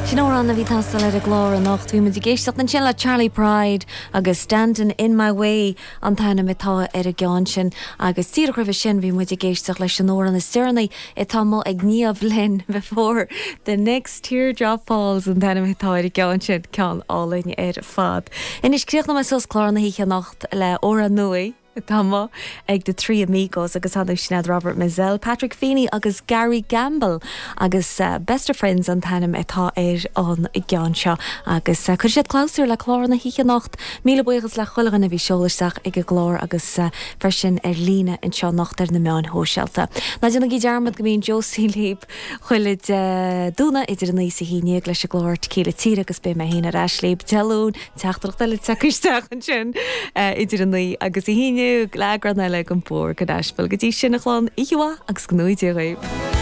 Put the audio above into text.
Sin amhrán a bhí ag teastáil ar an gclár anocht. Bhí muid ag éisteacht ansin le Charley Pride agus Standin' In My Way an t-ainm atá ar an gceann sin. Agus díreach roimhe sin bhí muid ag éisteacht leis an amhrán is deireanaí atá amuigh ag Niamh Lynn Before the Next Teardrop Falls an t-ainm atá ar an gceann sin, ceann álainn ar fad. Anois críochnóidh mé suas clár na hoíche anocht le amhrán nua. atá amuigh ag The Three Amigos agus ar ndóigh sin iad Robert Mizzell, Patrick Feeney agus Gary Gambill agus Best of Friends an t-ainm atá ar an gceann seo agus cuirfidh siad clabhsúr le clár na hoíche anocht. Míle buíochas le chuile dhuine a bhí ag seoladh isteach ag an gclár agus freisin ar líne anseo anocht ar na meáin shóisialta. Ná déanaigí dearmad go mbíonn Josie libh chuile Dé Domhnaigh idir 9 is 11 leis an gclár Tequila Tíre agus beidh mé féin ar ais libh Dé Luain Teachtaireacht eile tagtha isteach ansin idir 9 agus 11 le eagrán eile den Bóthar go Nashville. Go dtí sin a chlann, oíche mhaith agus go ngnóthaí Dia dhaoibh.